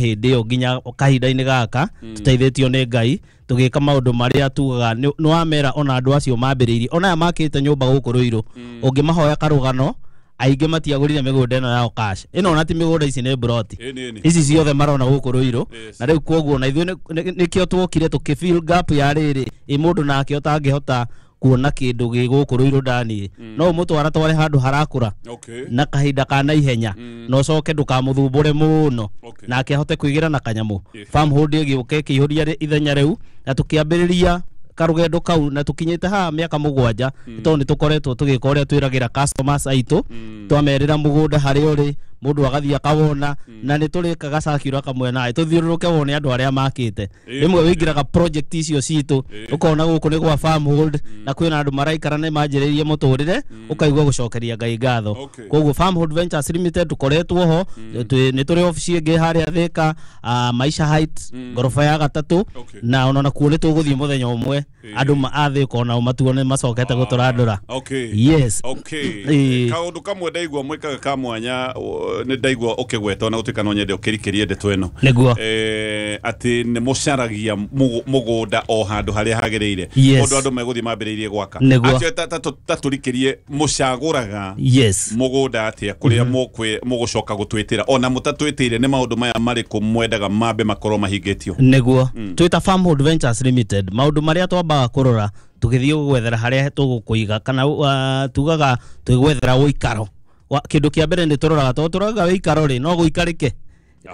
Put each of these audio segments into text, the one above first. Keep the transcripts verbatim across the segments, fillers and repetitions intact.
Hĩndĩ ĩyo nginya kahinda-inĩ gaka, tũteithĩtio nĩ Ngai, tũgĩka maũndũ marĩa tugaga nĩ nĩ wamera. Ona andũ acio mambĩrĩirie, ona aya makĩte nyũmba gũkũ Rũirũ, ũngĩmahoya karũgano, aingĩ matiagũrire mĩgũnda ĩno yao cash. Ĩno ona ti mĩgũnda, ici nĩ broti. Ĩni, ĩni. Ici ciothe marona gũkũ Rũirũ. Yes. Na rĩu koguo na ithuĩ nĩ- nĩ- nĩkĩo tuokire tũkĩ fill gap ya rĩrĩ ĩ mũndũ nake ũtangĩhota kuona kĩndũ gĩ gũkũ Rũirũ ndani, no ũmũtwara tware handũ harakũra Okay. na kahinda ka naihenya, na ũcoke ndũkamũthumbũre mũno, Okay. nake ahote kwĩgĩra na kanyamũ. Yeah. Farmhold ĩgĩũka ĩkĩihũria rĩ- ithenya rĩu, na tũkĩambĩrĩria karũgendo kau, na tũkinyĩte haha mĩaka mũgwanja, mm. tondũ nĩ tũkoretwo tũgĩka ũrĩa twĩragĩra customers aitũ. Twamerĩra mũgũnda harĩa ũrĩ, mũndũ agathiĩ akawona, na nĩ tũrĩkaga circular kamwe naĩ tũthiũrũrũke wone andũ arĩa makĩte. Ĩĩ. Rĩmwe wĩingĩraga project icio citũ, ũkona gũkũ nĩ gwa Farmhold, na kwĩna andũ maraikara nĩ manjĩrĩirie mũtũrĩre, ũkaigua gũcokeria Ngai ngatho. Okay. Koguo Farmhold Ventures Limited tũkoretwo ho. Twĩ- nĩ tũrĩ obici ĩngĩ harĩa Thika, ah, Maisha Heights, ngoroba ya gatatũ. Okay. Na ona nakuo nĩ tũgũthiĩ mũthenya ũmwe, andũ ma- a Thika onao matuone macokete gũtũrandũra. Okay. Yes. Okay. Ĩĩ. Kaũndũ kamwe ndaigua mwĩkaga ka mwanya, o, nĩ ndaigua ũkĩgweta, ona gũtuĩka no nyende ũkĩrikĩrie ndeto ĩno. Nĩguo. Eh, atĩ nĩ mũcaragia mũgũ- mũgũnda o handũ harĩa hagĩrĩire, Yes. ũndũ andũ megũthiĩ mambĩrĩirie gwaka. Nĩguo. Acio ta- ta- ta tũrikĩrie, mũcagũraga yes mũgũnda atĩa kũrĩa mũkwĩ- mũgũcoka gũtwĩtĩra? Ona mũtatwĩtĩire, nĩ maũndũ maya marĩkũ mwendaga mambe makorwo mahingĩtio? Nĩguo, twĩta Farmhold Ventures Limited, maũndũ marĩa twambaga kũrora tũgĩthiĩ gwethera harĩa tũgũkũiga kana uh, tugaga twĩgwethera ũikaro. Wa- kĩndũ kĩa mbere nĩ tũroraga, tondũ tũroraga ũikaro rĩ, no gũikarĩke.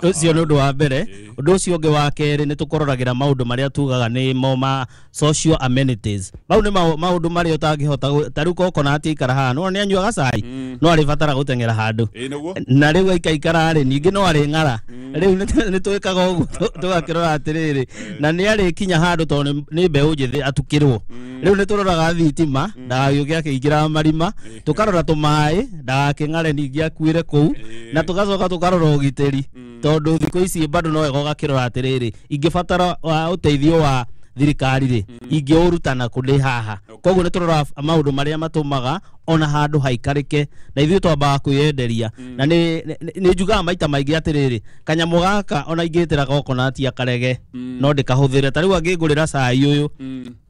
Ũcio nĩ ũndũ wa mbere. Ũndũ ũcio ũngĩ wa kerĩ, nĩ tũkũroragĩra maũndũ marĩa tugaga nĩ mo ma social amenities. Mau nĩ maũ- maũndũ marĩa ũtangĩhota gũ- ta rĩu coconut aikara haha, no nĩ anyuaga cai, no arĩbatara gũteng'era handũ. Ĩĩ, nĩguo. Na rĩu aikaikara rĩ, ningĩ no arĩ ng'ara. Rĩu nĩ- nĩ twĩkaga ũguo, tũ- tũgakĩrora atĩrĩrĩ, na nĩ arĩkinya handũ, tondũ nĩ- nĩ mbeũ njĩthĩ, atukĩrwo. Rĩu nĩ tũroraga thitima, ndagagĩũke akĩingĩra marima. Tũkarora tũmaĩ, ndagakĩng'are ningĩ akuĩre kũu. Na tũgacoka tũkarora ũgitĩri, tondũ thikũ ici bado no wega ũgakĩrora atĩrĩrĩ, ingĩbatara wa ũteithio wa thirikari rĩ, ingĩũruta kũ ndĩ haha? Koguo nĩ tũroraga maũndũ marĩa matũmaga ona handũ haikarĩke, na ithuĩ twambaga kwĩyenderia. Na nĩ nĩ- nĩ njugaga maita maingĩ atĩrĩrĩ, kanyamũ gaka ona ingĩtĩra coconut akarege, no ndĩkahũthĩre. Ta rĩu angĩngũrĩra cai ũyũ,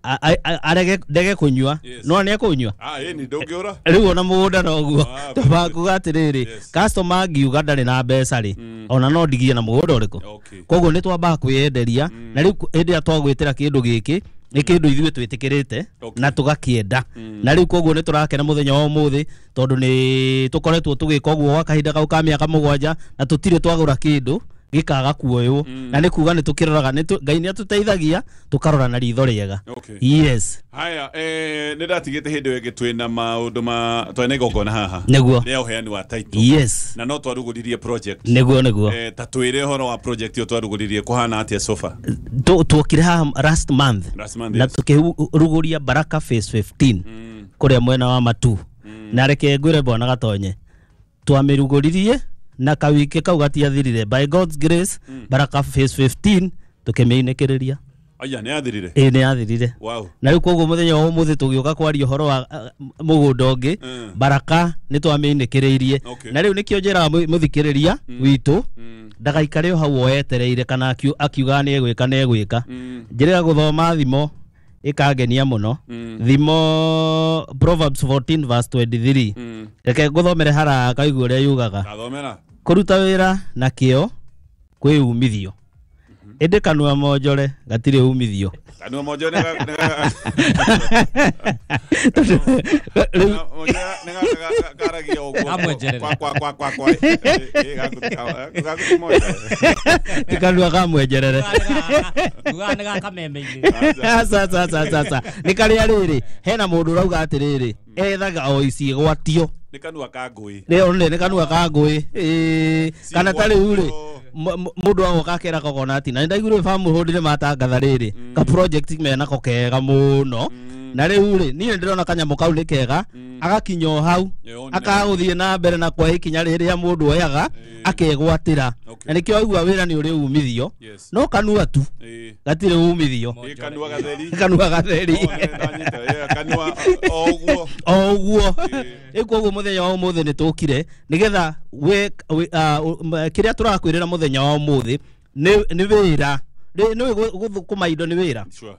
a- a- a- arege ndege kũnyua, Yes. no nĩ ekũnyua. Ah, ĩni ndũngĩũra. Rĩu ona mũgũnda noguo. Ah, Twambaga kuga atĩrĩrĩ, Yes. customer angiuga ndarĩ na mbeca rĩ, ona no ndigie na mũgũnda ũrĩkũ. Okay. Koguo nĩ twambaga kwĩyenderia, na rĩu hĩndĩ ĩrĩa twagwĩtĩra kĩndũ gĩkĩ, nĩ kĩndũ ithuĩ twĩtĩkĩrĩte Okay. na tũgakĩenda. Na rĩu koguo nĩ tũrakena mũthenya wa ũmũthĩ, tondũ nĩ tũkoretwo tũgĩka ũguo gwa kahinda kau ka mĩaka mũgwanja, na tũtirĩ twagũra kĩndũ gĩkaga kuoywo. Na nĩ kuga nĩ tũkĩroraga, nĩ tũ- Ngai nĩ atũteithagia tũkarora na ritho rĩega. Okay. Yes. Haya, eh, nĩ ndatigĩte hĩndĩ ĩyo ĩngĩ twĩna maũndũ ma twarĩ na igongona haha Nĩguo. rĩa ũheani wa title, yes na no twarugũririe project. nĩguo nĩguo Eh, ta twĩre ũhoro wa project ĩyo twarugũririe, kũhana atĩa sofa? Tu- tuokire haha last month, Last month, na yes. tukĩrugũria Baraka Phase fifteen kũrĩa mwena wa Matu. Na reke ngwĩre, bwana Gatonye, twamĩrugũririe na kawiki kau gatiathirire, by God's grace, Baraka Phase fifteen tukĩmĩinĩkĩrĩria. Aya, nĩ yathirire? Ĩĩ, nĩ yathirire. Wow. Na rĩu koguo mũthenya wa ũmũthĩ tũgĩũka kwaria ũhoro wa uh, mũgũnda ũngĩ, Mm. Baraka nĩ twamĩinĩkĩrĩirie. Okay. Na rĩu nĩkĩo njĩraga mũ- mũthikĩrĩria witũ Mm. ndagaikare o hau oetereire kana akiu- akiugaga nĩ egwĩka nĩ egwĩka. Mm. Njĩrĩga gũthoma thimo ĩkangenia mũno, Mm. thimo Proverbs fourteen verse twenty-three. Mm. Reke ngũthomere haraka kaigua ũrĩa yugaga. Tathomera. Kũruta wĩra na kĩo kwĩ umithio, ĩndĩ kanua monjore gatirĩ umithio. Kanua monjo nĩ ga- nĩ ga- Rĩu nĩ ga- ga- karagia ũguo. Kamwenjerere. Kwa kwa kwa kwa kwa. Eh, eh, gaku gaku ti monjore. Ti kanua kamwenjerere. Ugaga nĩ gakameme-inĩ. Aca, aca, aca, aca, aca. Nĩ karĩa rĩrĩ hena mũndũ ũrauga atĩrĩrĩ, ethaga o iciĩgwatio. Nĩ kanua ka ngũi. Nĩ nĩ nĩ kanua ka ngũĩ. Ĩĩ, kana ta rĩu rĩ, m- m- mũndũ agoka akera coconut, na nĩ ndaiguire Farmhold nĩ matangatha rĩrĩ ka project menako kega mũno. Na rĩu rĩ, niĩ nĩ ndĩrona kanyamũ kau nĩ kega, agakinya o hau, Ĩyo nĩ- akagũthiĩ na mbere na kwa ikinya rĩrĩa mũndũ oyaga akegwatĩra. Okay. Na nĩkĩo aigua wĩra nĩ ũrĩ umithio, Yes. no kanua tu Ĩĩ. gatirĩ umithio. Ĩ, kanua gatheri. Kanua gatheri. Oh, nĩ ndanyita. Ĩ, kanua o ũguo. O ũguo. Rĩu koguo mũthenya wa ũmũthĩ nĩ tũkire nĩgetha we, we, uh, kĩrĩa tũrakwĩrĩra mũthenya wa ũmũthĩ nĩ wĩra nĩ gũthũkũma indo nĩ wĩra. Sure.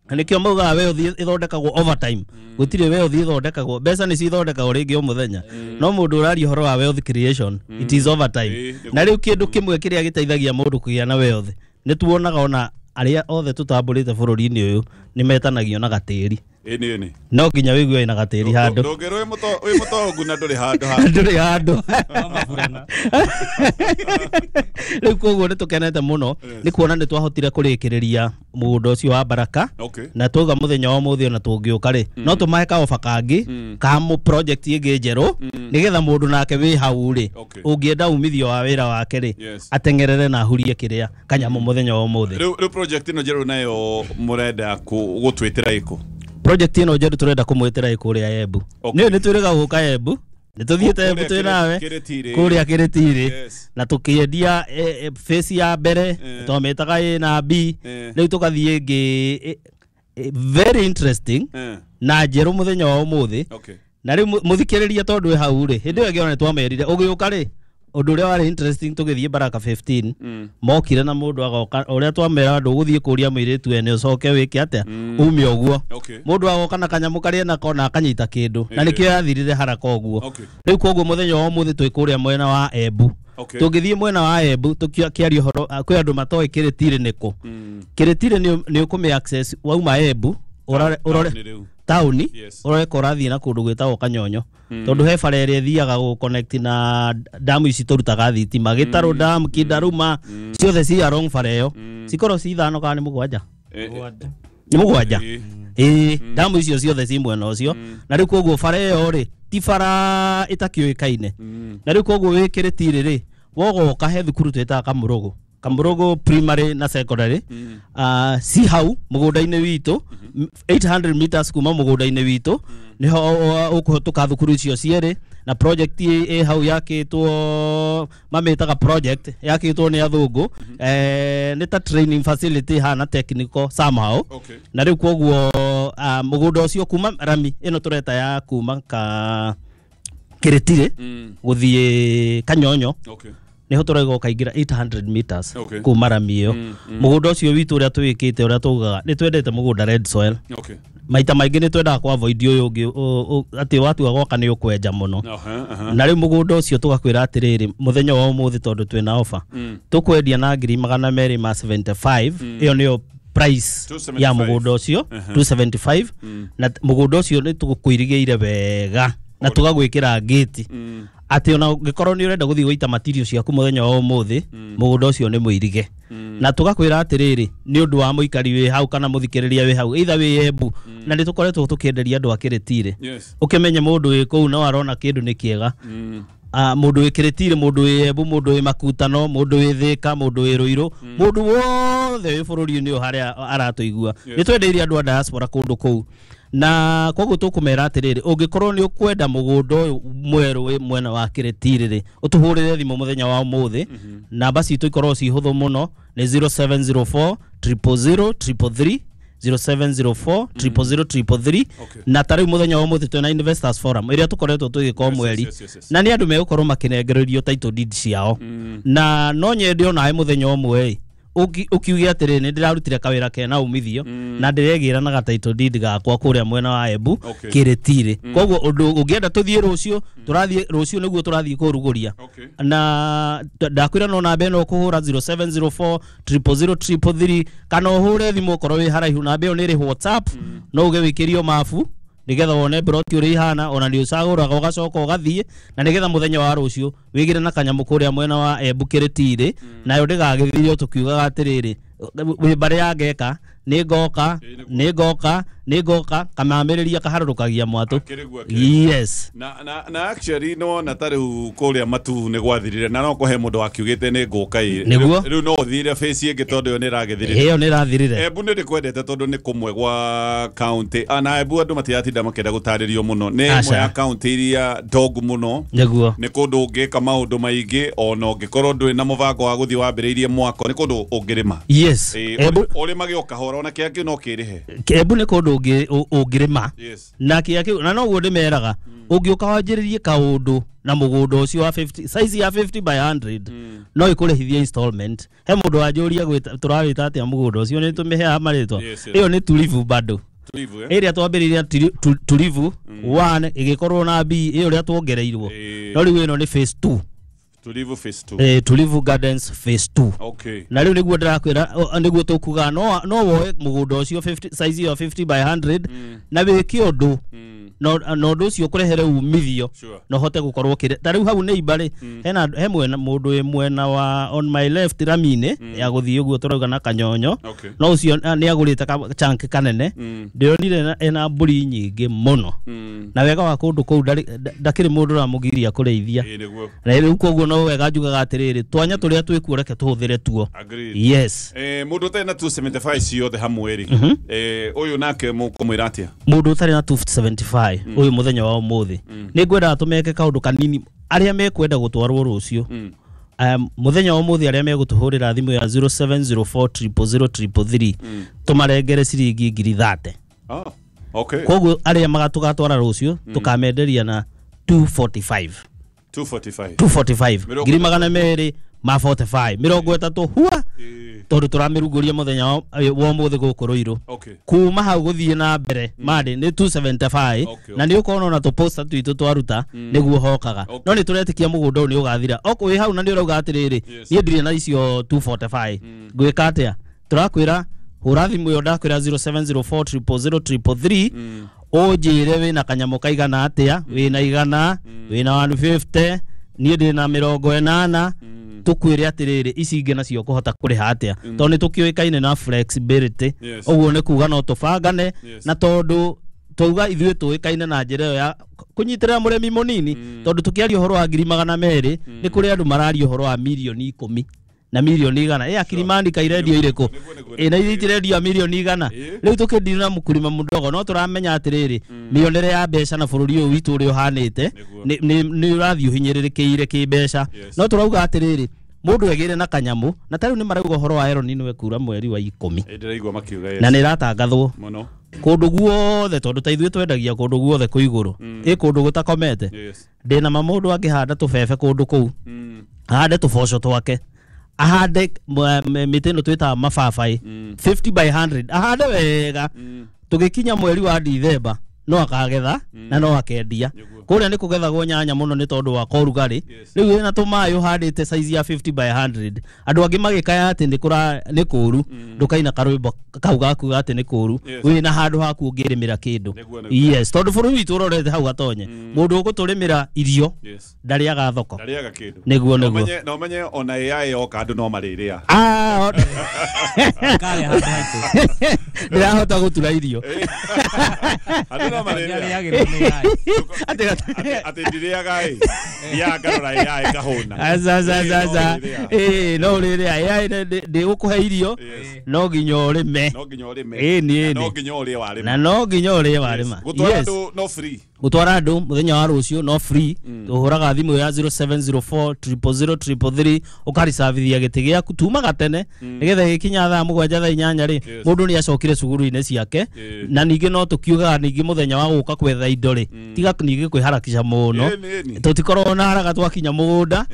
Nĩkĩo maugaga wealth ĩthondekagwo overtime. Gũtirĩ wealth ĩthondekagwo, mbeca nĩ cithondekagwo rĩngĩ o mũthenya, no mũndũ ũraria ũhoro wa wealth creation, it is overtime. Na rĩu kĩndũ kĩmwe kĩrĩa gĩteithagia mũndũ kũgĩa na wealth, nĩ tuonaga ona arĩa othe tũtambũrĩte bũrũri-inĩ ũyũ nĩ metanagio na gatĩri. Ĩni ĩni no nginya wĩigue wĩna gatĩri handũ. Ndũngĩrwo wĩ mũtongu na ndũrĩ handũ handũ ndũrĩ handũ. Rĩu koguo nĩ tũkenete mũno nĩ kuona nĩ twahotire kũrĩkĩrĩria mũgũnda ũcio wa Baraka. Na twauga mũthenya wa ũmũthĩ ona tũngĩũka rĩ, no tũmahe kaoba kangĩ ka mũ project ĩngĩ njerũ, nĩgetha mũndũ nake wĩ hau rĩ, ũngĩenda umithio wa wĩra wake rĩ, ateng'erere na ahurie kĩrĩa kanyamũ mũthenya wa ũmũthĩ. Rĩu rĩu project ĩno njerũ nayo mũrenda gũtwĩtĩra ĩkũ? Project ĩno njerũ tũrenda kũmwĩtĩra ĩkũrĩa Embu. Nĩ nĩ twĩrĩga gũka Embu, nĩ tũthiĩte Embu twĩ nawe kũrĩa Kĩrĩtirĩ, na tũkĩendia phase ya mbere twamĩtaga A na B, rĩu tũgathiĩ ĩngĩ very interesting na njerũ mũthenya wa ũmũthĩ. Na rĩu mũthikĩrĩria tondũ wĩ hau rĩ, hĩndĩ ĩyo ĩngĩ ona nĩ twamerire ũgĩũka rĩ, ũndũ ũrĩa warĩ interesting tũgĩthiĩ Baraka fifteen, mokire na mũndũ agoka ũrĩa twamera ndũgũthiĩ kũria mũirĩtu ene ũcoke wĩke atĩa ume ũguo, mũndũ agoka na kanyamũ karĩa nako na akanyita kĩndũ, na nĩkĩo yathirire haraka ũguo. Rĩu koguo mũthenya wa ũmũthĩ twĩ kũrĩa mwena wa Embu. Tũngĩthiĩ mwena wa Embu tũkĩaria ũhoro, kwĩ andũ matoĩ Kĩrĩtirĩ nĩkũ. Kĩrĩtirĩ nĩ ũkũmĩ access wauma Embu ũrore taũni, ũrore ũrathiĩ na kũndũ gwĩtagwo Kanyonyo, tondũ he bara ĩrĩa ĩthiaga gũ connect na damu ici tũrutaga thitima, Gĩtarũ dam, Kindaruma, ciothe ci along bara ĩyo, cikorwo ci ithano kana nĩ mũgwanja, nĩ mũgwanja ĩĩ, damu icio ciothe ci mwena ũcio. Na rĩu koguo bara ĩyo rĩ ti bara ĩtakĩũĩkaine. Na rĩu koguo wĩ Kĩrĩtirĩ rĩ, wogoka he thukuru twĩtaga Kamũrũgũ, Kamũrũgũ primary na secondary, uh, si hau mũgũnda-inĩ witũ, eight hundred meters kuma mũgũnda-inĩ witũ niho ũkũhĩtũka thukuru icio cierĩ. Na project ĩ hau yakĩtwo, mamĩtaga project yakĩtwo nĩ athũngũ, eh, nĩ ta training facility hana technical somehow. Na rĩu koguo mũgũnda ũcio kuma rami ĩno tũreta ya kuma ka Kĩrĩtirĩ gũthiĩ Kanyonyo, niho tũraiga ũkaingĩra eight hundred meters kuma rami ĩyo. Mũgũnda ũcio witũ ũrĩa twĩkĩte ũrĩa tugaga nĩ twendete mũgũnda red soil. Maita maingĩ nĩ twendaga kũ avoid ũyũ ũngĩ atĩ watua gwaka nĩ ũkwenja mũno. Na rĩu mũgũnda ũcio tũgakwĩra atĩrĩrĩ, mũthenya wa ũmũthĩ tondũ twĩna offer, tũkwendia na ngiri magana merĩ ma seventy five, ĩyo nĩyo price ya mũgũnda ũcio two seventy five. Na mũgũnda ũcio nĩ tũkũirigĩire wega na tũgagwĩkĩra gate atĩ ona ũngĩkorwo nĩ ũrenda gũthiĩ gũita material ciaku mũthenya wa ũmũthĩ, mũgũnda ũcio nĩ mũirige. Na tũgakwĩra atĩrĩrĩ, nĩ ũndũ wa mũikari wĩ hau kana mũthikĩrĩria wĩ hau, either wĩ Embu, na nĩ tũkoretwo tũkĩenderia andũ a Kĩrĩtirĩ, ũkĩmenye mũndũ wĩ kũu no arona kĩndũ nĩ kĩega. Mũndũ wĩ Kĩrĩtirĩ, mũndũ wĩ Embu, mũndũ wĩ Makutano, mũndũ wĩ Thĩka, mũndũ wĩ Rũirũ, mũndũ wothe wĩ bũrũri-inĩ ũyũ harĩa aratũigua, nĩ twendeirie andũ a diaspora kũndũ kũu. Na koguo tũkũmera atĩrĩrĩ, ũngĩkorwo nĩ ũkwenda mũgũnda ũyũ mwerũ wĩ mwena wa Kĩrĩtirĩ rĩ, ũtũhũrĩre thimũ mũthenya wa ũmũthĩ. Namba citũ ikorwo ci hũthũ mũno, nĩ zero seven zero four triple zero triple three, zero seven zero four triple zero triple three. Na ta rĩu mũthenya wa ũmũthĩ twĩna Investors Forum ĩrĩa tũkoretwo tũgĩka o mweri, na nĩ andũ megũkorwo makĩnengererio title deed ciao. Na no nyende onawe mũthenya ũmwe ũkiuge atĩrĩ, nĩ ndĩrarutire kawĩra kena umithio na ndĩregĩra na title deed gakwa kũrĩa mwena wa Embu Kĩrĩtirĩ. Koguo ũndũ ũngĩenda tũthiĩ rũciũ, tũrathiĩ rũciũ nĩguo tũrathiĩ kũrugũria. Na ndakwĩra no namba ĩno ũkũhũra zero seven zero four triple zero triple three, kana ũhũre thimũ ũkorwo wĩ haraihu. Namba ĩyo nĩ ĩrĩ WhatsApp, no uge wĩkĩrio mabu nigetha wone broti ũrĩa ihana, ona nĩ ũcagũraga ũgacoka ũgathiĩ, na nigetha mũthenya wa rũciũ wĩgĩre na kanyamũ kũrĩa mwena wa Embu Kĩrĩtirĩ, nayo ndĩgagĩthirio tũkiugaga atĩrĩrĩ, wĩ mbarĩ ya ngeka nĩ ngoka nĩ ngoka nĩ ngoka, kamamĩrĩria kaharũrũkagia mwatũ. Yes. Na na na actually no na ta rĩu kũrĩa matu nĩ gwathirire, na no kũhe mũndũ wakiugĩte nĩ ngũka ĩ rĩu no ũthire face ĩngĩ tondũ ĩyo nĩ ĩragĩthirire, ĩyo nĩ ĩrathirire. Embu nĩ ndĩkwendete tondũ nĩ kũmwe gwa county, na Embu andũ matiratinda makĩenda gũtarĩrio mũno, nĩ ĩmwe ya county iria ndongu mũno. Nĩguo nĩ kũndũ ũngĩka maũndũ maingĩ, ona ũngĩkorwo ndũrĩ na mũbango wa gũthiĩ wambĩrĩirie mwako, nĩ kũndũ ũngĩrĩma. Yes. Ũrĩmage o kahora, ona kĩangĩ no kĩrĩhe. Embu nĩ kũndũ ũngĩrĩma na kĩa kĩu na noguo ndĩmeraga ũngĩũka wanjĩrĩrie kaũndũ na mũgũnda ũcio wa fifty size ya fifty by hundred no ĩkũrĩhithie installment. He mũndũ wanjũria tũrawĩta atĩa mũgũnda ũcio nĩ tũmĩheaga marĩtwa ĩyo nĩ Tulivu bado ĩrĩa twambĩrĩria Tulivu one ĩgĩkorwo na B ĩyo ũrĩa tuongereirwo no rĩu ĩno nĩ phase two. Tulivu phase two. Eh, Tulivu Gardens phase two. Okay. Na rĩu nĩguo ndĩrakwĩra nĩguo tũkuga no no woe mũgũnda ũcio fifty size ya fifty by hundred na wĩke ũndũ no no ũndũ ũcio ũkũrehere umithio no hote gũkorwo kĩrĩ ta rĩu hau nĩ ibarĩ hena he mwena mũndũ wĩ mwena wa on my left ramine ya gũthiĩ ũguo tũrauga na kanyonyo no ũcio nĩ agũrĩte chunk kanene ndĩronire ena mbũri nyingĩ mũno na wega wa kũndũ kũu ndakĩrĩ mũndũ ũramũgiria kũrĩithia na rĩu koguo no wega njugaga atĩrĩrĩ twanya tũrĩa twĩkuo reke tũhũthĩre tuo. Yes. Eh, mũndũ ũtarĩ na two seventy-five ciothe hamwe rĩ eh ũyũ nake mũkũmwĩra atĩa? Mũndũ ũtarĩ na two seventy-five ũyũ mũthenya wa ũmũthĩ nĩ ngwendaga tũmeke kaũndũ kanini arĩa mekwenda gũtwarwo rũciũ mũthenya wa ũmũthĩ arĩa megũtũhũrĩra thimũ ya zero seven zero four triple zero triple three tũmarengere ciringi ngiri thate. Ah, okay. Koguo arĩa magatũgatwara rũciũ tũkamenderia na two forty-five. two forty-five. two forty-five. Ngiri magana merĩ ma forty-five mĩrongo ĩtatũ hua tondũ tũramĩrugũria mũthenya wa ũmũthĩ gũkũ Ruiru. Kuma hau gũthiĩ na mbere marĩ nĩ two seventy-five na nĩ ũkona ona tũposter twitũ twaruta nĩguo hokaga no nĩ tũretĩkia mũgũnda ũyũ nĩ ũgathira wĩ hau na nĩ ũrauga atĩrĩrĩ niĩ ndirĩ na icio two forty-five ngwĩka atĩa tũrakwĩra hũra thimũ ĩyo ndakwĩra zero seven zero four triple zero triple three ũnjĩre wĩna kanyamũ kaigana atĩa wĩna igana wĩna one fifty niĩ ndĩ na mĩrongo ĩnana tukwire atiriri ici ingĩ nacio kũhota kũrĩha atĩa tondũ nĩ tũkĩũĩkaine na flexibility ũguo nĩ kuga no tũbangane na tondũ twauga ithuĩ tũĩkaine na njĩra ĩyo ya kũnyitĩrĩra mũrĩmi mũnini tondũ tũkĩaria ũhoro wa ngiri magana merĩ nĩ kũrĩ andũ mararia ũhoro wa mirioni ikũmi na milioni igana eh akirimani kairendio iriko eh na itirendio milioni igana riu tukindira mukurima mudogo no turamenya atiriri mionere ya mbeca na bururi uyu witu uri uhanite ni ni urathi uhinyiririkiire ki mbeca no turauga atiriri mundu egire na kanyamu na tariu ni marauga horo wa Aaron ni wekura mweri wa ikumi ndiraigua makiuga na ni ratangathwo muno kundu guothe tondu ta ithuĩ twendagia kundu guothe kũ igũrũ ĩ kundu gũtakomete ndina ma mundu angĩhanda tũbebe kundu kũu ahande tũboco twake ahande mĩtĩ ĩno twĩtaga mababaĩ fifty by hundred ahande wega tũgĩkinya mweri wa Dithemba no akagetha na no akendia kũrĩa nĩ kũgethagwo nyanya mũno nĩ tondũ wa korugarĩ rĩu wĩna tũmaĩ ũhandĩte size ya fifty by hundred andũ angĩ magĩkaya atĩ nĩ kũra nĩ kũru ndũkaina karwĩmbo kau gakuga atĩ nĩ kũru wĩna handũ haku ũngĩrĩmĩra kĩndũ yes tondũ bũrũri witũ ũrorete hau gatonye mũndũ ũgũtũrĩmĩra irio ndarĩaga thoko ndarĩaga kĩndũ nĩguo nĩguo na ũmenye ona A I yoka andũ no marĩrĩa ah ndĩrahota gũtura irio andũ no marĩrĩa ati ndiriaga ĩ ya ngarora A I ngahũna aca aca aca ĩ no ũrĩrĩa A I ndĩgũkũhe irio no nginya ũrĩme no nginya ũrĩme ĩ nĩ no nginya ũrĩe warĩma na no nginya ũrĩe warĩma gũtwara andũ no free gũtwara andũ mũthenya wa rũciũ no free tũhũraga thimũ ya zero seven zero four triple zero triple three ũkaricabithia gĩtĩ gĩaku tumaga tene nĩgetha gĩkinya thaa mũgwanja thaa inyanya rĩ mũndũ nĩ acokire cukuru-inĩ ciake na ningĩ no tũkiugaga ningĩ mũthenya wa gũka kwetha indo rĩ tiga ningĩ kwĩharakisha mũno tũtikorwo na haraka twakinya mũgũnda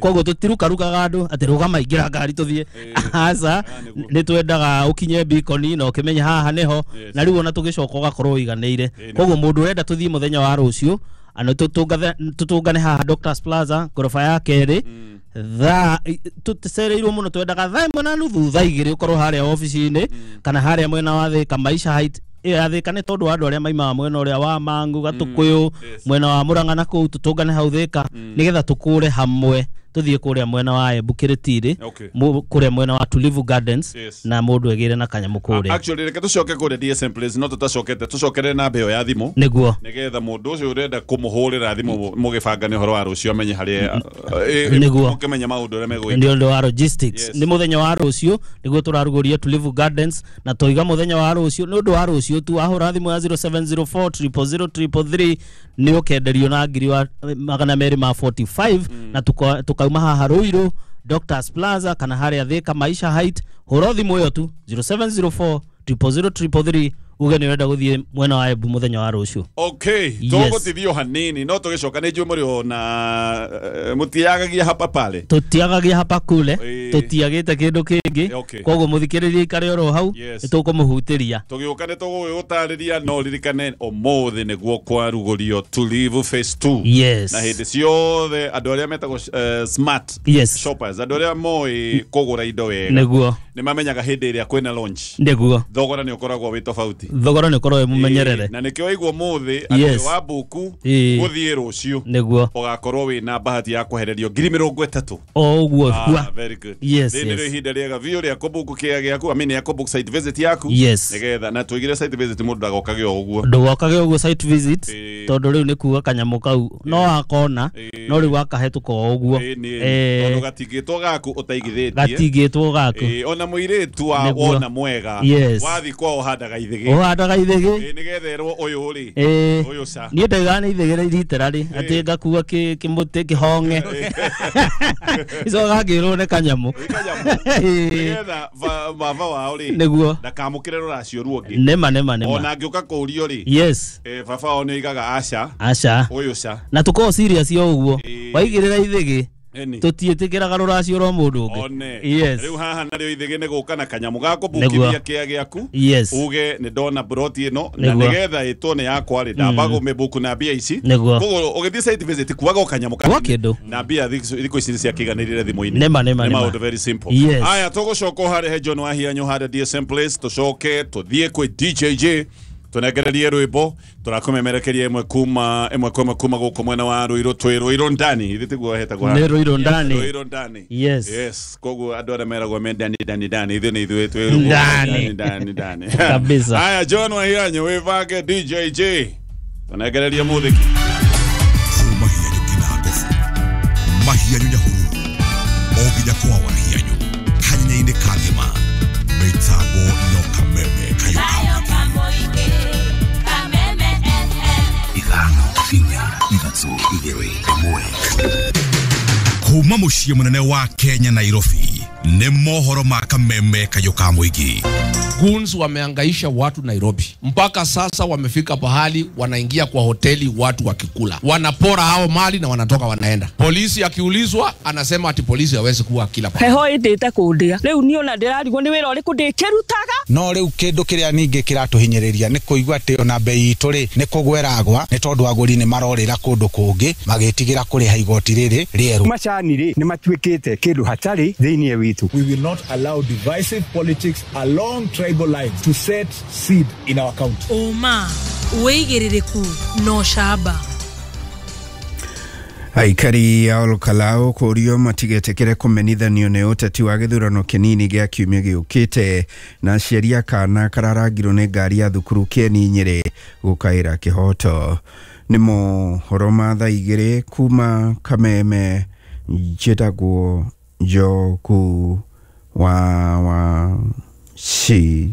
koguo tũtirukarukaga andũ atĩ rũgama ingĩra ngari tũthiĩ aca nĩ twendaga ũkinye bikoni na ũkĩmenye haha nĩho na rĩu ona tũgĩcoka ũgakorwo ũiganĩire koguo mũndũ ũrenda tũthiĩ mũthenya wa rũciũ ano tũtũngane haha Doctors Plaza ngoroba ya kerĩ thaa tũcereirwo mũno twendaga thaa ĩmwe na nuthu thaa igĩrĩ ũkorwo harĩa obici-inĩ kana harĩa mwena wa Thika Maisha Height ya Thika nĩ tondũ wa andũ arĩa maimaga mwena ũrĩa wa Mangu Gatũkũyũ mwena wa Murang'a na kũu tũtũngane hau Thika nĩgetha tũkũre hamwe tũthiĩ kũrĩa mwena wa Embu Kĩrĩtirĩ kũrĩa mwena wa Tulivu Gardens na mũndũ egĩre na kanyamũ kũrĩa actually reke tũcoke kũrĩa D S M Place no tũtacokete tũcokere namba ĩyo ya thimũ nĩguo nĩgetha mũndũ ũcio ũrenda kũmũhũrĩra thimũ mũgĩbangane ũhoro wa rũciũ amenye harĩa nĩguo mũkĩmenya maũndũ ũrĩa megwĩka nĩ ũndũ wa logistics nĩ mũthenya wa rũciũ nĩguo tũrarugũria Tulivu Gardens na tũiga mũthenya wa rũciũ nĩ ũndũ wa rũciũ tu wahũra thimũ ya zero seven zero four triple zero triple three nĩ ũkenderio na ngiri wa magana merĩ ma forty-five na tukauma haha Ruiru Doctors Plaza kana harĩa Thika Maisha Height hũra thimũ ĩyo tu zero seven zero four triple zero triple three Uge nĩ ũrenda gũthiĩ mwena wa Embu mũthenya wa rũciũ. Okay, tũgũtithio hanini no tũgĩcoka nĩ njũĩ mũrĩ ona mũtiagagia hapa pale. Tũtiagagia hapa kule, tũtiagĩte kĩndũ kĩngĩ. Koguo mũthikĩrĩria ikare oro hau, nĩtũkũmũhutĩria. Tũgĩũka nĩ tũgũgũtarĩria no ririkane ũmũthĩ nĩguo kwarugũrio Tulivu Phase two. Yes. Na hĩndĩ ciothe andũ arĩa metagwo uh, smart yes. shoppers, andũ arĩa moĩ kũgũra indo wega nĩguo nĩ mamenyaga hĩndĩ ĩrĩa kwĩna launch nĩguo thogora nĩ ũkoragwo wĩ tofauti, thogora nĩ ũkoragwo wĩ mũmenyerere, na nĩkĩo waigua ũmũthĩ atĩ wa buku gũthiĩ rũciũ nĩguo ũgakorwo wĩna bahati ya kwehererio ngiri mĩrongo ĩtatũ o ũguo. Ah, very good. Yes, yes. Nĩ ihinda rĩega biũ rĩa kũbuku kĩa gĩaku, I mean ya kũbook site visit yaku yes. Nĩgetha na tũigire site visit mũndũ ndagokage o ũguo, ndũgokage ũguo site visit tondũ rĩu nĩ kuga kanyamũ kau no akona no rĩu akahetũka o ũguo tondũ gatingĩtwo gaku ũtaigithĩtie, gatingĩtwo gaku ona mũirĩtu wa wona mwega wathi kwao ũhandaga ithĩgĩ, ũhandaga ithĩgĩ nĩgetha erwo ũyũ rĩ ũyũ ca niĩ ndaigaga nĩ ithĩgĩ literally atĩ ngakua kĩmũtĩ kĩhong'e icoka ngĩrwo nĩ kanyamũ nĩgetha baba wao rĩ nĩguo ndakamũkĩre rũracio ruongĩ nĩma nĩma nĩma ona angĩũka kũũrio rĩ yes baba wao nĩ oigaga aca aca ũyũ ca na tũkorwo serious o ũguo waigĩrĩra ithĩgĩ tũtiĩtĩkĩraga rũracio rwa mũndũ ũngĩ. Yes. Rĩu haha narĩo ithĩgĩ nĩ gũka na kanyamũ ga kũbukithia kĩa gĩaku yes. Uge nĩ ndona broti ĩno na nĩgetha ĩtwo nĩ yakwa rĩ ndamba kũmĩbuku na mbia ici koguo ũgĩthiĩ site visit kuaga o kanyamũ kanini na mbia thikũ ici ciakĩiganĩrire thimũ-inĩ nĩma nĩma nĩ maũndũ very simple. Yes. Aya tũgũcoka harĩ he John Wahianyũ harĩa D S M Place tũcoke tũthiĩ kwĩ D J J tunegererie rwimbo turakumemerekeria imwe kuma imwe kwa kuma guku mwena wa Ruiru twi Ruiru ndani ithi tiguo hetagwo ni Ruiru ndani Ruiru ndani yes yes koguo andu aria meragwo me ndani ndani ndani ithu ni ithuĩ twi Ruiru ndani ndani ndani kabisa. Aya John Wahianyũ wivange D J J tunegererie muthiki Mahianyu kina Mahianyu Nyahururu o nginya kwa Wahianyu kanyenya-inĩ kagima mitambo no Kameme kayo ithano inya ithatũ igĩrĩ ĩmwe kuma mũciĩ mũnene wa Kenya Nairobi nĩ mohoro ma Kameme kayo ka mũingĩ. Goons wameangaisha watu Nairobi mpaka sasa wamefika pahali wanaingia kwa hoteli watu wakikula, wanapora hao mali na wanatoka wanaenda. Polisi akiulizwa anasema ati polisi hawezi kuwa kila pahali. Heho indite kundia riu ni ona ndirarigwo ni wira uriku ndikirutaga no riu kindu kiria ningi kiratuhinyiriria ni kuigua ati ona bei itu ri ni kugweragwa ni tondu aguri ni marorira kundu kungi magitigira kuriha igoti riri rieru. Macani ri ni matuikite kindu hatari thiini witu. We will not allow divisive politics along tribal lines to set seed in our county. Oma wĩigĩrĩrĩku no shaba. Aikari a Olkalou kũũrio matigetĩkĩre kũmenithanio nĩ ũteti wa gĩthurano kĩnini gĩa kiumia gĩũkĩte na aciari a kana kararangirwo nĩ ngari ya thukuru Kĩeni Nyĩrĩ gũkaĩra kĩhoto. Nĩ mohoro ma thaa igĩrĩ kuma Kameme, njĩtagwo Njoku wa wa Shira.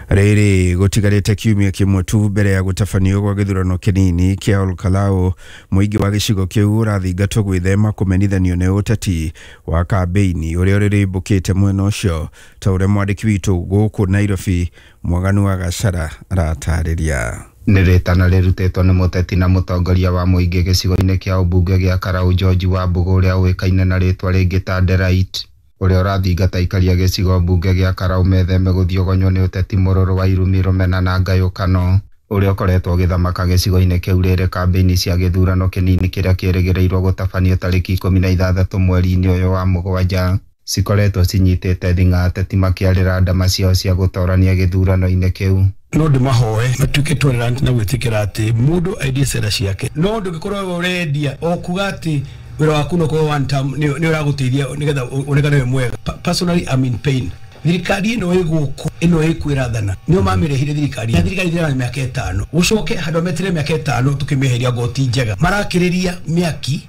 Rĩrĩ gũtigarĩte kiumia kĩmwe tu mbere ya gũtabanio gwa gĩthurano kĩnini kĩa Olkalou, mũingĩ wa gĩcigo kĩu ũrathingatwo gwĩthema kũmenithanio nĩ ũteti wa kambĩini ũrĩa ũrĩrĩmbũkĩte mwena ũcio ta ũrĩa mwandĩki witũ gũkũ Nairobi Mwaganu wa Gacara aratarĩria. Nĩ rĩtana rĩrutĩtwo nĩ mũteti na mũtongoria wa mũingĩ gĩcigo-inĩ kĩa ũmbunge gĩa Karau George Wambugu ũrĩa ũĩkaine na rĩtwa rĩngĩ ta Delight ũrĩa ũrathingata aikaria gĩcigo mbunge gĩa Karau metheme gũthiogonywo nĩ ũteti mũrũrũ wa irumi rũmena na ngayũkano ũrĩa ũkoretwo ũgĩthamaka gĩcigo-inĩ kĩu rĩrĩ kambĩini cia gĩthurano kĩnini kĩrĩa kĩrĩgĩrĩirwo gũtabanio tarĩki ikũmi na ithathatũ mweri-inĩ ũyũ wa mũgwanja cikoretwo cinyitĩte thing'a ateti makĩarĩra ndama ciao cia gũtorania gĩthurano-inĩ kĩu. No ndimahoe matuĩke tolerant na gwĩtĩkĩra atĩ mũndũ endie cera ciake, no ndũngĩkorwo ũrendia o kuga atĩ wĩra waku no korwo one term nĩ ũragũteithia nĩgetha ũnekane wĩ mwega. Personally I'm in pain. Thirikari ĩno ĩgũkũ ĩno ĩkwĩrathana nĩo mamĩrehire thirikari na thirikari ĩthiraga mĩaka ĩtano gũcoke handũ metere mĩaka ĩtano tũkĩmĩeheria ngoti njega marakĩrĩria mĩaki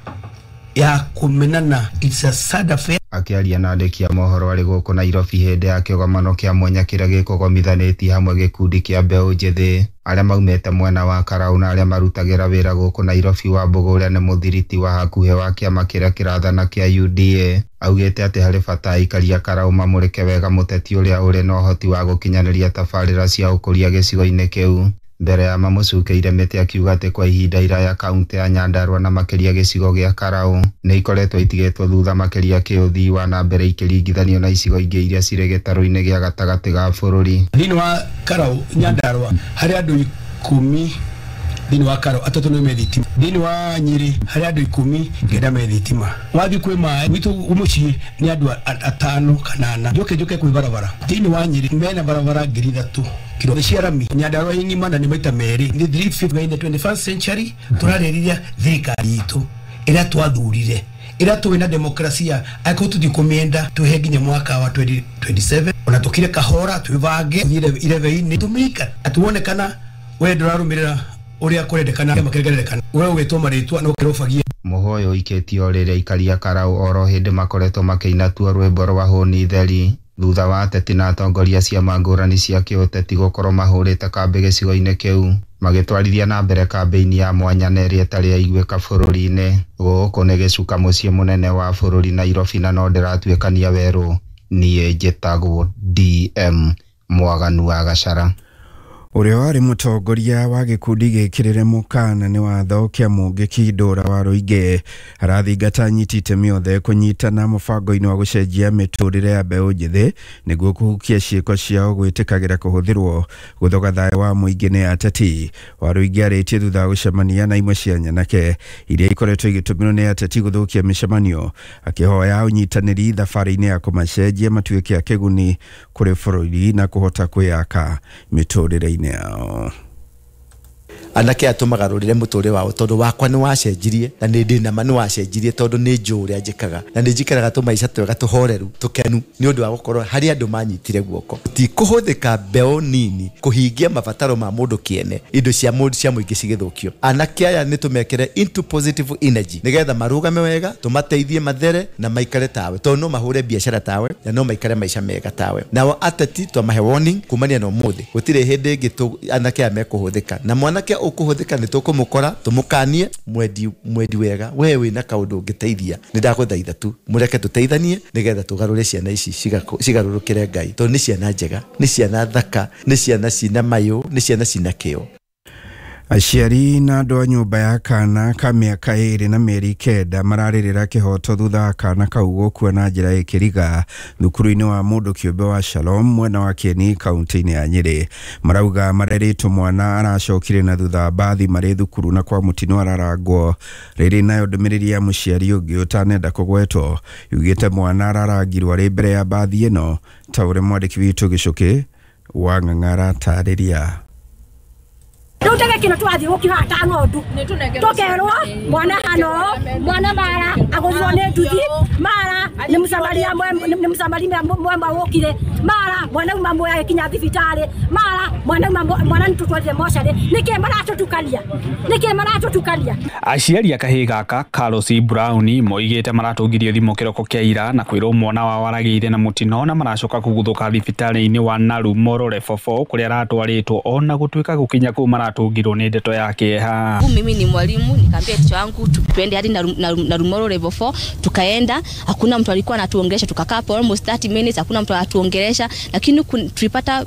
ya kũmenana. It's a sad affair. Akĩaria na andĩki a mohoro arĩ gũkũ Nairobi hĩndĩ ya kĩgomano kĩa mwanya kĩrĩa gĩkũgomithanĩtie hamwe gĩkundi kĩa mbeũ njĩthĩ Arĩa maumĩte mwena wa Karau na arĩa marutagĩra wĩra gũkũ Nairobi. Wambugu ũrĩa nĩ mũthiriti wa hakuhĩ wa kĩama kĩrĩa kĩrathana kĩa U D A augĩte atĩ harĩ bata aikari a Karau mamũrĩke wega mũteti ũrĩa ũrĩ na ũhoti wa gũkinyanĩria tabarĩra cia ũkũria gĩcigo-inĩ kĩu. Mbere ya mamũcukĩire mĩtĩ akiuga atĩ kwa ihinda iraya kaunti ya Nyandarua na makĩria gĩcigo gĩa Karau nĩ ikoretwo itigĩtwo thutha makĩria kĩũthii wa na mbere ikĩringithanio na icigo ingĩ iria cirĩ gĩtarũ-inĩ gĩa gatagatĩ ga bũrũri. Thĩinĩ wa Karau Nyandarua harĩ andũ ikũmi, thĩinĩ wa Karau atatũ nĩ me thitima, thĩinĩ wa Nyĩrĩ harĩ andũ ikũmi kenda me thitima, wathiĩ kwĩ maĩ gwitũ mũciĩ nĩ andũ atano kana ana, njoke njoke kwĩ barabara thĩinĩ wa Nyĩrĩ mena barabara ngiri ithatũ kiro cia rami. Nyandarua ng'ima na nĩ maita merĩ nĩ three fifty in the twenty-first century. Tũrarĩrĩria thirikari itũ ĩrĩa twathurire ĩrĩa tũĩ na demokrasia angĩkorwo tũtikũmĩenda tũhe nginya mwaka wa twenty twenty-seven ona tũkire kahora twĩbange irebe-inĩ tũmĩika atuone kana we ndũrarũmĩrĩra ũrĩa kũrendekana kĩama kĩrĩa kĩrendekana we ũgĩtwo marĩtwa no kĩrobagia. Mũhoyo ũikĩtio rĩrĩa aikari a Karau oro hĩndĩ makoretwo makĩina tuo rwĩmbo rwa hũni theri thutha wa ateti na atongoria ciama ngũrani cia kĩũteti gũkorwo mahũrĩte kambĩ gĩcigo-inĩ kĩu magĩtwarithia na mbere kambĩini ya mwanya na ĩrĩa ĩtarĩ yaiguĩka bũrũri-inĩ. Gũkũ nĩ gĩcuka mũciĩ mũnene wa bũrũri Nairobi na no ndĩratuĩkania werũ. Niĩ njĩtagwo D M Mwaganu wa Gachara. Ũrĩa warĩ mũtongoria wa gĩkundi gĩkĩrĩre mũkana nĩ watho kĩa Mũngĩki Ndũra wa Rũingĩ arathingata anyiti itemi othe kũnyitana mũbango-inĩ wa gũcenjia mĩtũrĩre ya mbeũ njĩthĩ nĩguo kũhukia ciĩko ciao gwĩtĩkagĩra kũhũthĩrwo gũthoga thayũ wa mũingĩ nĩ ateti. Wa Rũingĩ arĩtie thutha wa gũcemania na imwe cia nyanake iria ikoretwo igĩtũmĩrwo nĩ ateti gũthũkia mĩcemanio, akĩhoya ũnyitanĩri thabarĩ-inĩ ya kũmacenjia matuĩke a kĩguni kũrĩ bũrũri na kũhota kwĩyaka mĩtũrĩre-inĩ yao. Anake atũmagarũrĩre mũtũrĩre wao tondũ wakwa nĩ wacenjirie na nĩ ndĩ nama nĩ wacenjirie tondũ nĩ njũĩ ũrĩa njĩkaga na nĩ njikaraga tũmaica twega tũhoreru tũkenu nĩ ũndũ wa gũkorwo harĩ andũ manyitire guoko. Ti kũhũthĩka mbeũ nini kũhingia mabataro ma mũndũ kĩene, indo cia mũndũ cia mũingĩ cigĩthũkio. Anake aya nĩ tũmekĩre into positive energy nĩgetha marũgame wega, tũmateithie mathere na maikare tawe tondũ no mahũre biacara tawe na no maikare maica mega tawe. Nao ateti twamahe warning kumania na ũmũthĩ gũtirĩ hĩndĩ ĩngĩ anake aya mekũhũthĩka na mwanake ũkũhũthĩka nĩ tũkũmũkora tũmũkanie mwendi mwendi wega we wĩna kaũndũ ũngĩteithia nĩ ndagũthaitha tu mũreke tũteithanie nĩgetha tũgarũre ciana ici cigarũrũkĩre Ngai tondũ nĩ ciana njega, nĩ ciana thaka, nĩ ciana cina mayũ, nĩ ciana cina kĩo. Aciari na andũ a nyũmba ya kana ka mĩaka ĩrĩ na mĩeri kenda mararĩrĩra kĩhoto thutha wa kana kau gũkua na njĩra ĩkĩriga thukuru-inĩ wa mũndũ kĩũmbe wa Shalom mwena wa Kieni kaunti-inĩ ya Nyĩrĩ. Marauga marerĩtwo mwana aracokire na thutha wa mbathi marĩ thukuru na kwa mũtino ararangwo. Rĩrĩ nayo ndũmĩrĩri ya mũciari ũngĩ ũtanenda kũgwetwo yugĩte mwana ararangirwo arĩ mbere ya mbathi ĩno ta ũrĩa mwandĩki witũ Gĩcũkĩ wa Ng'ang'a aratarĩria. Rĩu tege kĩno twathiĩ gũkĩhata ng'ondu tũkerwo mwana hano mwana mara agũthirwo nĩ nduthi mara nĩ mũsamaria nĩ mũsamaria mwema wũkire mara mwana uma muoya agĩkinya thibitarĩ mara mwana uma mwana nĩtũtwarire mocarĩ. Nĩkĩ maratũtukania? Nĩkĩ maratũtukania? Aciari a kahĩĩ gaka Carlos Brown moigĩte maratũngirio thimũ kĩroko kĩa ira na kwĩrwo mwana wao aragĩire na mũtino na maracoka kũguthũka thibitarĩ-inĩ wa Naru Morore Fofo kũrĩa aratwarĩtwo ona gũtuĩka gũkinya kũu maratũngirwo nĩ ndeto ya kĩeha. Mimi ni mwalimu, nikaambia ticha wangu tuende hadi Narumoro level four, tukaenda, hakuna mtu alikuwa anatuongelesha, tukakaa for almost thirty minutes hakuna mtu anatuongelesha, lakini tulipata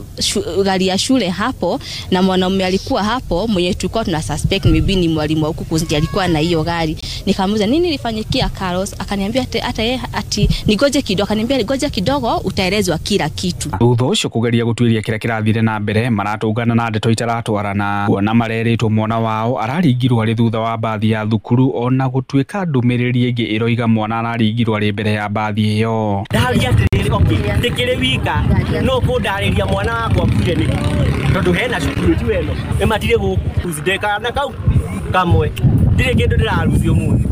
gari ya shule hapo na mwanaume alikuwa hapo mwenye tulikuwa tuna suspect maybe ni mwalimu wa huku kuzi alikuwa na hiyo gari. Nikamuuliza nini ilifanyikia Carlos, akaniambia hata yeye ati nigoje kidogo, akaniambia nigoje kidogo utaelezwa kila kitu. Thutha ũcio kũgeria gũtuĩria kĩrĩa kĩrathire na mbere maratũngana na ndeto itaratwarana kuona marerĩtwo mwana wao araringirwo arĩ thutha wa mbathi ya thukuru ona gũtuĩka ndũmĩrĩri ĩngĩ ĩroiga mwana araringirwo arĩ mbere ya mbathi ĩyo. Ndaria atĩrĩrĩ, okay, ndĩkĩrĩ wika no kũndarĩria mwana wakwa akuire nĩkĩ tondũ hena cukuru ti weno ĩmatirĩ gũkũ ndekana kau kamwe ndirĩ kĩndũ ndĩrarucio mũthĩ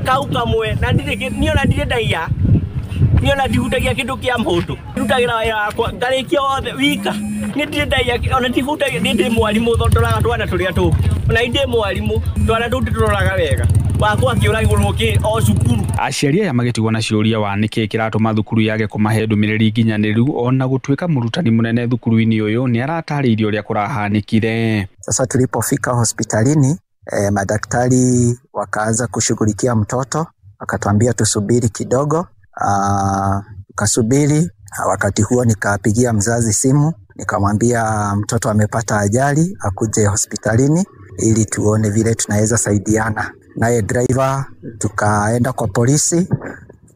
kau kamwe na ndirĩ niĩ ona ndirĩ ndaiya niĩ ona ndihutagia kĩndũ kĩa mũndũ ndutagĩra wĩra wakwa ngarĩkia wothe wika niĩ ndirĩ ndaiya ona ndihutagia niĩ ndĩ mwarimũ ndoraga twana tũrĩa tũngĩ ona ndĩ mwarimũ twana tũu ndĩtũroraga wega Wakwa akĩũragĩrwo kĩ o cukuru. Aciari aya magĩtigwo na ciũria wa nĩkĩ kĩratũma thukuru yage kũmahe ndũmĩrĩri nginyanĩru ona gũtuĩka mũrutani mũnene thukuru-inĩ ũyũ nĩ aratarĩirie ũrĩa kũrahanĩkire. Sasa tulipofika hospitalini eh, madaktari wakaanza kushughulikia mtoto, wakatuambia tusubiri kidogo. Ah, tukasubiri. Wakati huo nikapigia mzazi simu, nikamwambia mtoto amepata ajali, akuje hospitalini ili tuone vile tunaweza saidiana. Naye driver tukaenda kwa polisi,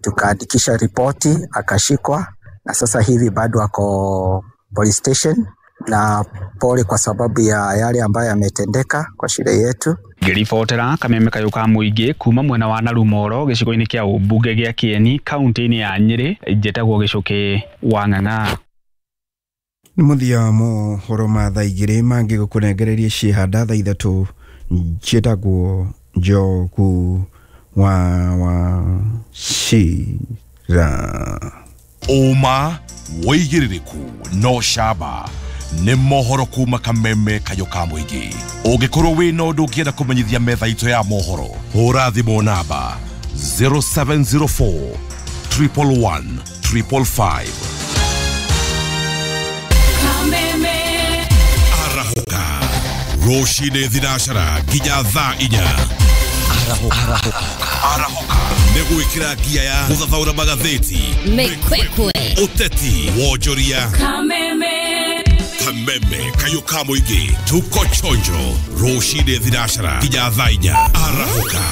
tukaandikisha ripoti, akashikwa na sasa hivi bado ako police station, na pole kwa sababu ya yale ambayo yametendeka kwa shule yetu. Ngĩribotera kameme kayũ ka mũingĩ kuma mwena wa Narumoro gĩcigo-inĩ kĩa ũmbunge gĩa Kĩeni kaunti-inĩ ya Nyĩrĩ, njĩtagwo Gĩcũkĩ wa Ng'ang'a. Nĩ mũthia wa mohoro ma thaa igĩrĩ mangĩ gũkũnengereria ciĩhanda thaa ithatũ njĩtagwo Njogu wa Wachira. Ũma wĩigĩrĩrĩku no camba nĩ mohoro kuma kameme kayũ ka mũingĩ. Ũngĩkorwo wĩna ũndũ ũngĩenda kũmenyithia metha itũ ya mohoro, hũra thimũ namba zero seven zero four triple one triple five. Arahũka rũcinĩ thinacara nginya thaa inya. Arahũka nĩ gwĩkĩra ngia ya gũthathaũra magathĩti, Mĩkwekwe, ũteti, wonjoria, Kameme, kameme kayũ ka mũingĩ. Tuko chonjo rũcinĩ thinacara nginya thaa inya. Arahũka.